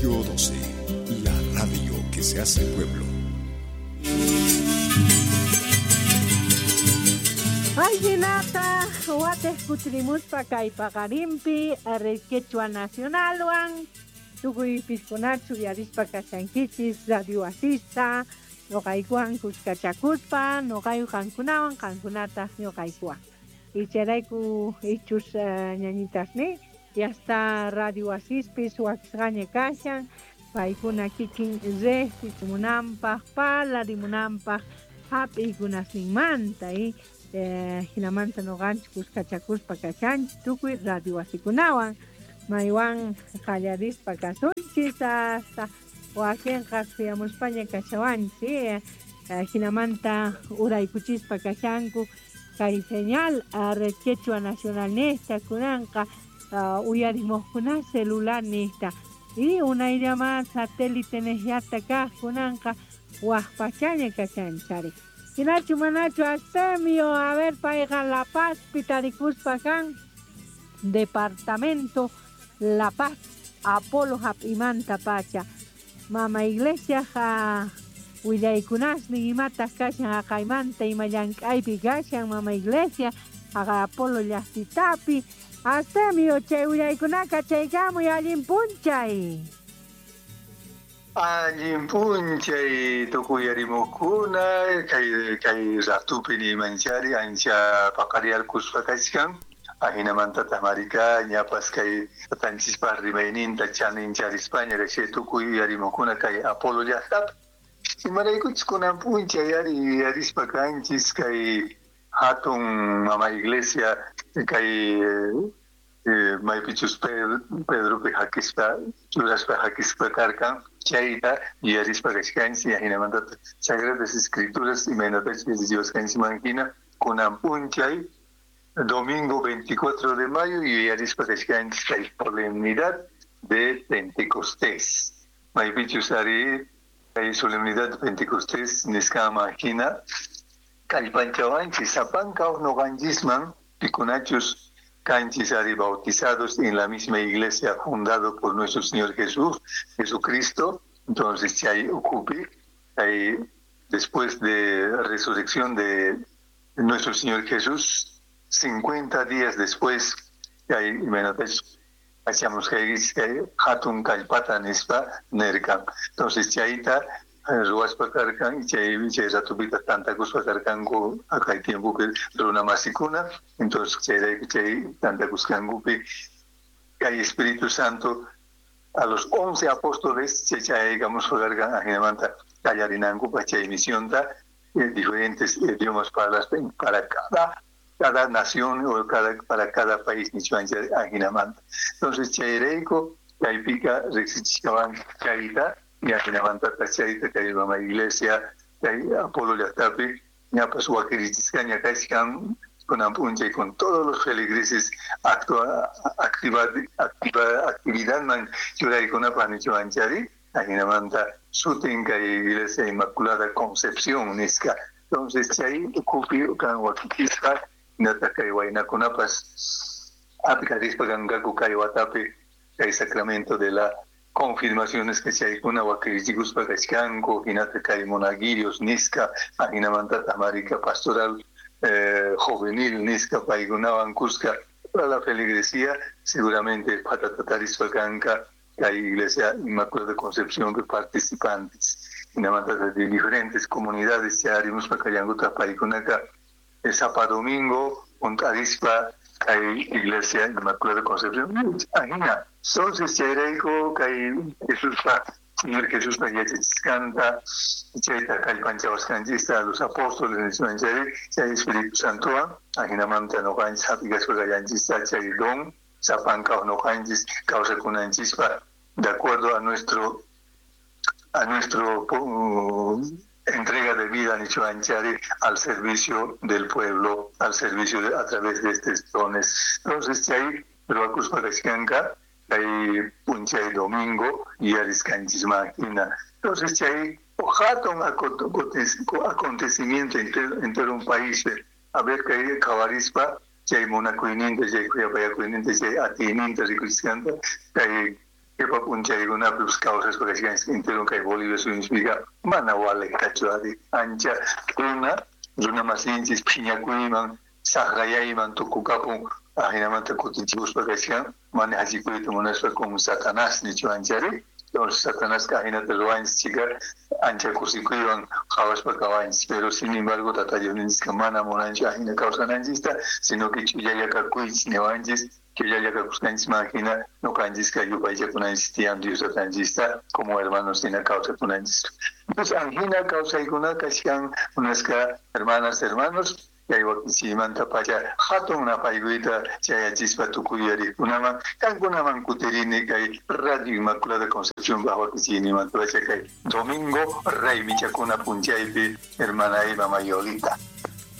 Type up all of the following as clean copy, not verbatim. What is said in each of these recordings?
Radio 12, la radio que se hace pueblo. Ajinata watej kutirimuspa kay paqarinpi Red Quechua Nacionalwan tukuy piskunachu uyarispa kashankichis Radio Asista noqaykuwan kuskachakuspa noqayku qankunawan qankunataq ñuqaykuwan ichayrayku ichus ñañitasni ya está Radio Asispis wakisqaña kashan paykuna kikin riqsichimunanpaq parlarimunanpaq hap'iykunasninmanta y hinamanta noqanchik kuskachakuspa kashanchik tukuy radio wasikunawan maywan qallarispa kasunchis hasta wakinqa suyamuspaña kashawanchik hinamanta uraykuchispa kashanku kay señal Red Quechua Nacional nista kunanqa uyarimuqkuna celular nista y unayllaman satélite niyata kaq kunanqa waq pachaña kashanchari hinachu manachu Astemio a ver payqa La Pazpi tarikuspa kan departamento La Paz Apolo hap'imanta pacha mama iglesia willaykunasnin imataq kashan haqaymanta ima llank'aypi kashan mama iglesia haqa Apolo llaqtitapi Astemio chay willaykunaka chaykamuy allin p'unchay. Allin p'unchay tukuyarimuqkuna kay kay ratupi nimanchari ancha paqariarkuspa kachkan ajinamantataq marika ñapas kay tatanchispaq rimayninta chanincharispaña chay tukuy uyarimuqkuna kay Apolo llaqtapi imaraykuchus kunan p'unchay ari yuyarispa kanchis kay hatun mama iglesia kay maypichus Pedropi hakispa churaspa hakispa karkan chayta yuyarispa kachkanchis ajinamantataq Sagradas Escrituras imaynatachus yachachiwasqanchikman hina kunan p'unchay domingo 24 de mayo yuyarispa kachkanchis kay solemnidad de Pentecostés maypichus ari kay solemnidad de Pentecostés nisqaman hina kallpanchawanchis sapanka uj noqanchisman pikunachus kanchis ari bautizados en la misma iglesia fundado por nuestro Señor Jesús, Jesucristo. Entonces chay ukhupi chay después de resurrección de nuestro Señor Jesús, 50 días después chay imaynatachus hacíamos kay hatun kallpata nispa nerkan. Entonces chayta ruwaspa karkan chay chay ratupita tantakuspa karkanku kay tiempopi runa masikuna. Entonces chayrayku chay tantakusqankupi kay Espíritu Santo a los 11 apóstoles chay chayaykamuspa karkan ajinamanta qallarinankupaq chay misionta diferentes idiomas para cada nación o para cada país nichuancha ajinamanta. Entonces chayrayku chaypika riqsichikawan chayta y ajinamantata chayta kay mama iglesia kay Apolo llaqtapi ñapas wakirichisqaña kachkan kunan p'unchay con todos los feligreses actividadman churaykunapaq nichuanchari ajinamanta sutin kay iglesia Inmaculada Concepción nisqa. Entonces chay ukhupi kan wakichisqa hinataq kay waynakunapas apikarispa kanqaku kay watapi kay sacramento de la confirmaciones que chaykuna wakirichikuspa kachkanku hinataq kay monaguillos nisqa ajinamantataq marika pastoral juvenil nisqa paykunawan kuska toda la feligresía seguramente patatatarispa kanka kay iglesia Inmaculada Concepción que participantes hinamantataq de diferentes comunidades charimuspa kallankutaq paykunaka sapa domingo junt'arispa kay iglesia Inmaculada Concepción ajina. Entonces chayrayku kay Jesuspa Señor Jesuspa yachachisqanta chayta kallpanchawasqanchista los apóstoles nismanchari chay Espíritu Santowan ajinamanta noqanchis hap'ikaspa kallanchista chay don sapanka noqanchis kawsakunanchispa de acuerdo a nuestro entrega de vida nichuanchari al servicio del pueblo, al servicio a través de estos dones. Entonces chay ruwakuspa kachkanka kay p'unchay domingo yuyarisqanchisman hina. Entonces chay hatun acontecimiento entero un país a ver kay qhawarispa chay munakuyninta chay khuyapayakuyninta chay atiyninta rikusqanta kay Qhipa p'unchaykunapis kawsaspa kachkanchis entero kay Bolivia suyunchikpiqa mana walejtachu ari ancha runa runa masinchis phiñakuyman saqrayayman tukukapun ajinamanta kutichikuspa kachkan mana hachikuyta munaspa con Satanás nichu anchari. Entonces Satanás ajinata ruwanchis chika ancha kusikuywan qhawaspa kawanchis, pero sin embargo Tata Diosninchikqa mana munanchu ajina kawsananchista, sino que ch'ullalla kakuychis niwanchis, ch'ullalla kakusqanchisman hina ñuqanchisqa yupaychakunanchis tiyan Dios Tatanchista como hermanos hina kawsakunanchis. Entonces anjina kawsaykuna kachkan munasqa hermanas, hermanos, kay wakichiymanta pacha hatun napaykuyta chayachispa tukuy yuyariqkunaman qankunaman kutirini kay Radio Inmaculada Concepción wakichiynimanta pacha kay domingo raymichakuna p'unchaypi hermana Eva Mayolita.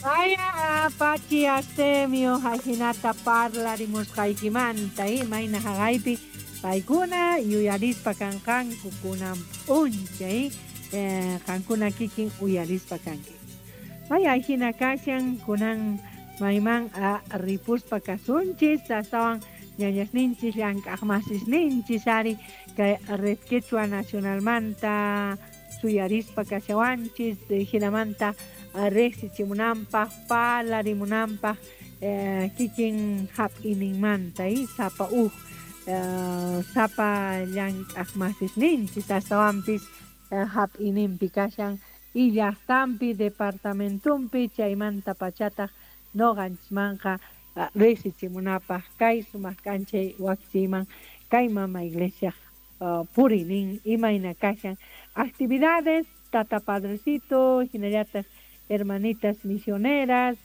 Vaya Pachi Artemio ajinata parlarimusqaykimanta mayna haqaypi paykuna yuyarispa kanqanku kunan p'unchay qankuna kikin uyarispa kanki. Vaya ajina kashan kunan mayman ripuspa kasunchis astawan ñañasninchis llank'aqmasisninchis ari kay Red Quechua Nacionalmanta suyarispa kashawanchis jinamanta riqsichimunanpaq parlarimunanpaq kikin hap'ininmanta sapa uj sapa llank'aqmasisninchis astawanpis hap'ininpi kashan y llaqtanpi departamentumpi chaymanta pachataq noqanchismanqa riqsichimunapaq kay sumaq k'anchay wakichiyman kay mama iglesia purinin imayna kashan actividades tata padrecito hinallataq hermanitas misioneras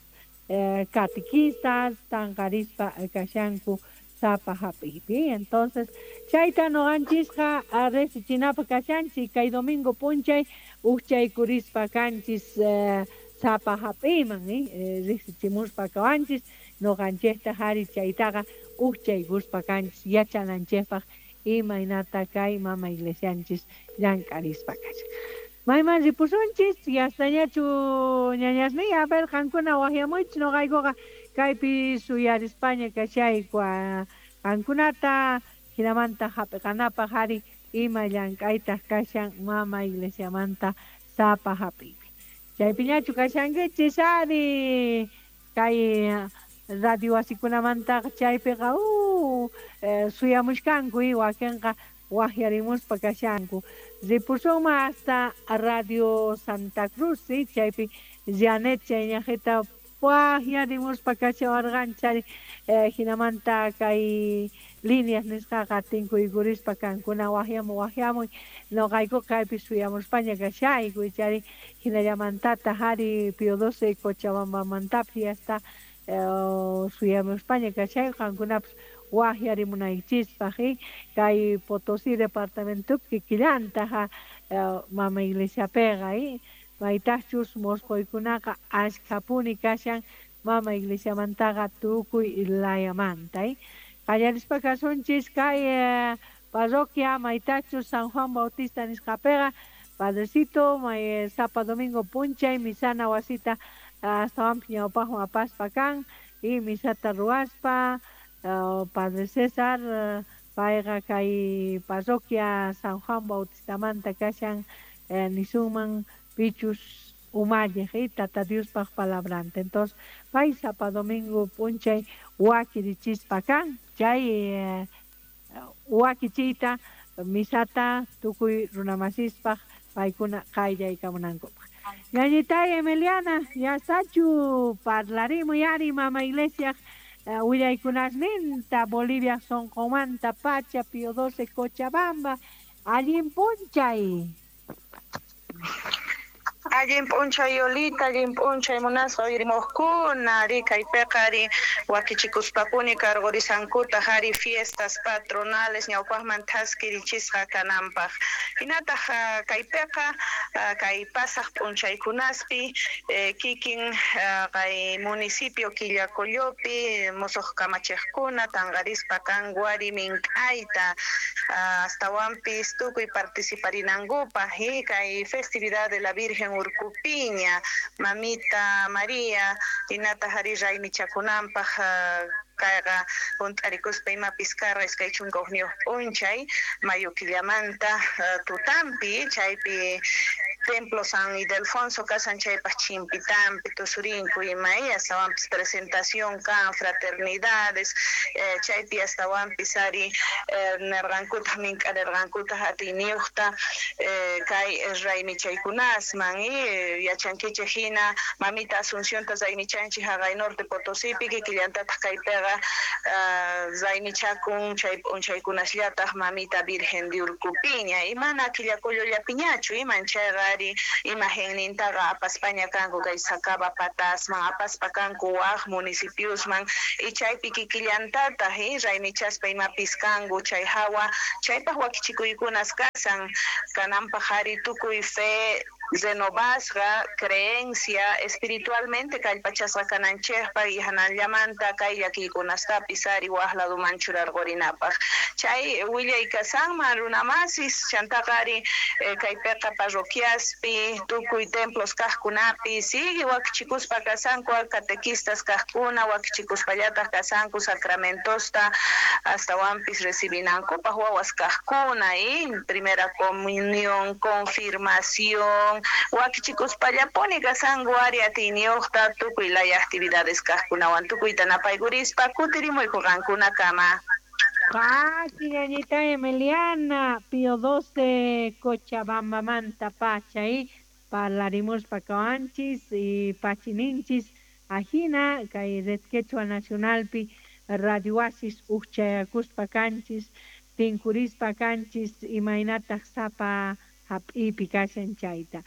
catequistas tanqarispa kashanku sapa hap'iypi. Entonces chayta noqanchisqa riqsichinapaq kashanchik kay domingo p'unchay uqchaykurispa kanchis sapa hap'iyman riqsichimuspa kawanchis noqanchikta hari chaytaqa uqchaykuspa kanchis yachananchikpaq imaynata kay mama iglesianchis llank'arispa kashan. Mayman ripusunchis yastañachu ñañasniy a ver qankuna waqyamuychis noqaykuqa kaypi suyarispaña kashayku qankunata hinamanta hap'iqanapaq ari ima llank'aytaq kashan mama iglesiamanta sapa hap'iypi. Chaypiñachu kashankichis ari kay radio wasikunamantaqa chaypiqa suyamushkanku wakinqa waqyarimuspa kashanku. Ripusunman hasta Radio Santa Cruz, ¿sí? Chaypi Janet chayñaqita waqyarimuspa kashawarqanchari hinamanta kay líneas nisqaqa tinkuykurispa kankuna waqyamuy waqyamuy noqaykuqa kaypi suyamuspaña kashayku chari hinallamantataq ari Pío XII Cochabambamantapis hasta suyamuspaña kashayku qankunapas waqyarimunaykichispaq kay Potosí departamentopi kikillantaq mama iglesiapiqa maytaqchus mosqoykunaqa ashkhapuni kashan mama iglesiamantaqa tukuy layamanta. Qallarispa kasunchis kay parroquia maytachus San Juan Bautista nisqapiqa padrecito may sapa domingo p'unchay misana wasita astawanpis ñawpaqman apaspa kan y misata ruwaspa Padre César payqa kay parroquia San Juan Bautistamanta kashan nisunman pichus umalliq Tata Diospaq palabranta. Entonces pay sapa domingo p'unchay wakirichispa kan chay wakichiyta misata tukuy runamasispaq paykuna qayllaykamunankupaq. Ñañitay Emiliana, yastachu parlarimuy ari mama iglesia willaykunasninta Bolivia sonqomanta pacha Pío XII Cochabamba allin p'unchay. Allin p'unchay Yolita, allin p'unchay munasqa uyarimuqkuna ari kaypiqa ari wakichikuspapuni karqurisankutaq ari fiestas patronales ñawpaqman thaskirichisqa kananpaq. Hinataq kaypiqa kay pasaq p'unchaykunaspi kikin kay municipio Quillacollopi musuq kamachiqkuna tanqarispa kan wari mink'ayta astawanpis tukuy participarinankupaq kay festividad de la Virgen Urcupiña, Mamita María, hinataq ari raymichakunanpaq Kayqa junt'arikuspa imapis karqa 21 p'unchay mayo killamanta tutampi, chaypi Templo San Ildefonso kasan chaypaj chimpitampi tusurinku ima astawanpis presentación kan fraternidades, chaypi astawanpis ari nerqankutaj mink'arerqankutaj atiyniyuqta kay raymichaykunasman yachankichej hina mamita Asuncionta raymichanchik haqay Norte Potosipi kikillantataq kaypiqa raymichakun chay p'unchaykunasllataj mamita Virgen de Urcupiña imana killakullullapiñachu iman chayqa ari imagennintaqa apaspaña kanku kay Sacaba patasman apaspa kanku waj municipiosman y chaypi kikillantataq raymichaspa imapis kanku chay hawa chaypaj wakichikuykunas kasan kananpaj ari tukuy fe renovasqa creencia espiritualmente kallpachasqa kananchejpaj y hanallamanta kay llakiykunastapis ari waj laduman churarqurinapaj chay willay kasanman runamasis chantaqa ari kaypiqa parroquiaspi tukuy templos kajkunapi sigue wakichikuspa kasanku catequistas kajkuna wakichikuspallataq kasanku sacramentosta astawanpis recibinankupaj wawas kajkuna primera comunión confirmación wakichikuspallapuni kasanku ari atiyniyuqta tukuy laya actividades kajkunawan tukuyta napaykurispa kutirimuyku qankunakama. Pachi, ñañita Emiliana, Pío XII, Cochabamba pacha, y parlarimuspa kawanchis y pachininchis ajina kay Red Quechua Nacionalpi Radio Oasis ujchayakuspa kanchis tinkurispa kanchis imaynataq sapa hap'ipi kashan chayta.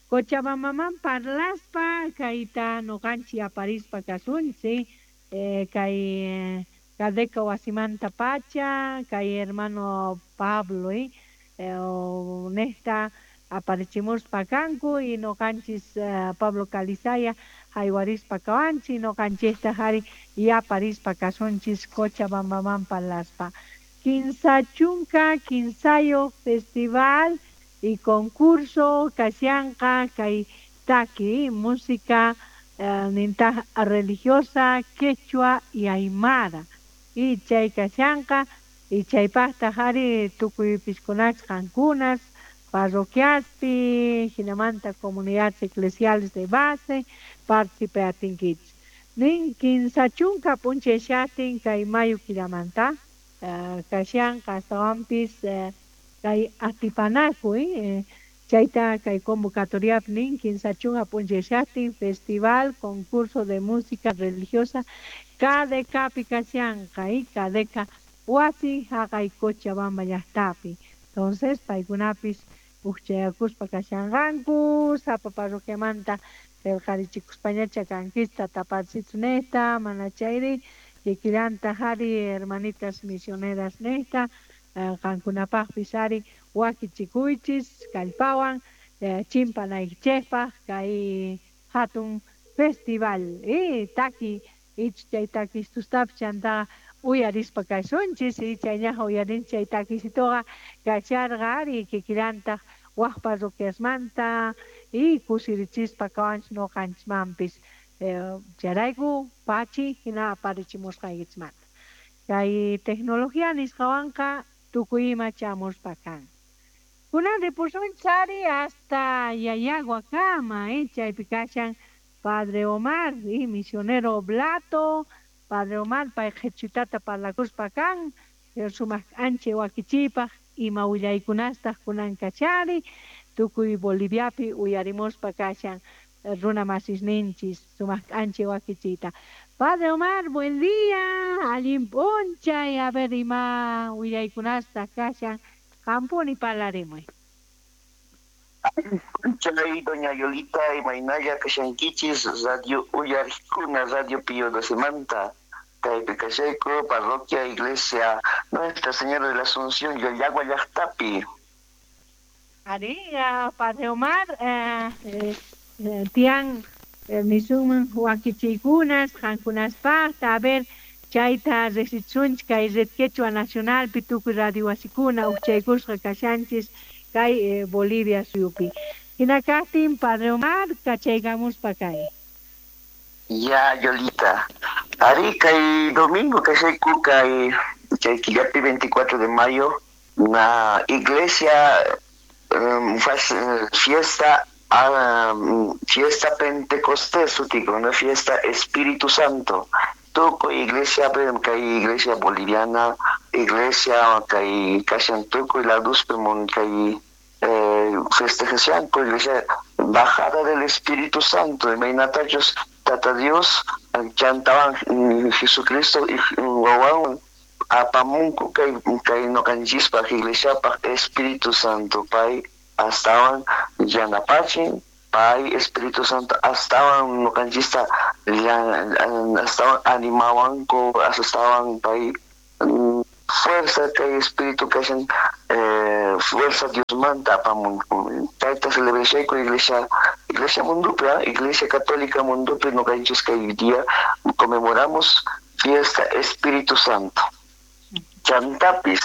Cochabambaman parlaspa kayta noqanchik aparispa kasunchik kay Cadeca wasimanta pacha kay hermano Pablo nesta aparichimuspa kanku y noqanchis Pablo Calizaya haywarispa kawanchik noqanchista ari y aparispa kasunchis Cochabambaman parlaspa. 53 festival y concurso kashanqa kay taki música nintaj religiosa quechua y aymara y chay kashanqa y chaypaqtaq ari tukuypiskunachus qankunas parroquiaspi hinamanta comunidades eclesiales de base participatinkichis nin 30 p'unchay shatin kay mayo killamanta kashanqa astawanpis kay atipanakuy chayta kay convocatoriapi nin 30 p'unchay shatin festival concurso de música religiosa KDKpi kashanqa y KDK wasi haqay Cochabamba llaqtapi. Entonces paykunapis ujchayakuspa kashanqanku sapa parroquiamanta qillqarichikuspañacha kankista taparsitu nejta mana chayri kikillantaq ari hermanitas misioneras nejta qankunapaqpis ari wakichikuychis kallpawan chimpanaykichejpaq kay hatun festival taki ich chay takistustapis chantaqa uyarispa kasunchis y chayñaqa uyarinchis chay takisituqa kasharqa ari kikillantaq waj parroquiasmanta y kusirichispa kawanchis noqanchismanpis chayrayku pachi hina aparichimusqaykichismanta kay tecnología nisqawanqa tukuy ima chamuspa kan. Kunan ripusunchis ari hasta Yayaguakama chaypi kashan Padre Omar y misionero Oblato. Padre Omar pay qhichwitata parlakuspa kan sumaq k'anchay wakichiypaq ima willaykunastaq kunan kachari tukuy Boliviapi uyarimuspa kashan runa masisninchis sumaq k'anchay wakichiyta. Padre Omar, buen día, allin p'unchay, a ver ima willaykunastaq kashan qampuni parlarimuy. Chay doña Yolita imaynalla kashankichis radio uyarikuna radio Pío XII kaypi kashayku parroquia iglesia Nuestra Señora de la Asunción Yoyagua llaqtapi. Ari, Padre Omar, tiyan nisunman wakichiykunas qankunaspaqta a ver chayta riqsichisunchik kay Red Quechua Nacionalpi tukuy radio wasikuna ujchaykusqa kashanchis kay Bolivia suyupi. Hina kaqtin Padre Omar kachaykamuspa kay. Ya, Yolita. Ari kay domingo kashayku kay chay killapi 24 de mayo na iglesia fiesta fiesta Pentecostés sutico, una fiesta Espíritu Santo. Tukuy iglesia kay iglesia boliviana, iglesia kay kashan tukuy laduspi mun kay festejashanku iglesia bajada del Espíritu Santo, imaynatachus Tata Dios chantawan Jesucristo wawan apamunku kay kay noqanchispaj iglesiapaj Espíritu Santo pay astawan yanapachin pay Espíritu Santo astawan noqanchista astawan animawanku astawan pay fuerza kay Espíritu kashan fuerza Diosmanta apamunku chayta celebrashayku iglesia iglesia mundupi iglesia católica mundupi noqanchis kay día conmemoramos fiesta Espíritu Santo. Chantapis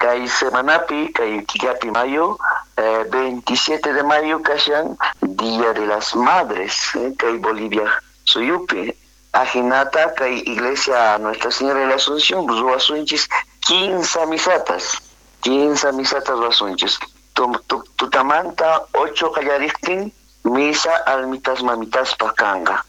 kay semanapi kay killapi mayo 27 de mayo kashan Día de las Madres kay Bolivia suyupi ajinata kay iglesia Nuestra Señora de la Asunción ruwasunchis 15 misatas 15 misatas ruwasunchis tutamanta 8 qallariktin misa almitas mamitaspaj kanqa.